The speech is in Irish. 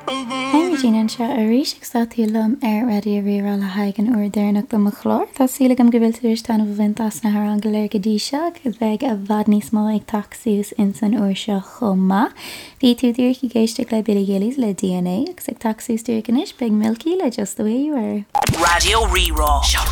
Hi Regina anseo arís agus tá tú liom ar Raidió Rí-Rá le haghaidh an uair deireanach de mo chlár. Tá súil agam go bhfuil tú tar éis taitneamh a bhaint as na hamhráin go léir go dtí seo agus beidh i bhfad níos mó ag teacht suas ins an uair seo chomh maith. Bhí tú díreach ag éisteacht le Billy Gillies le DNA agus ag teacht suas díreach anois beidh Milky le Just The Way You Are. Raidió Rí-Rá.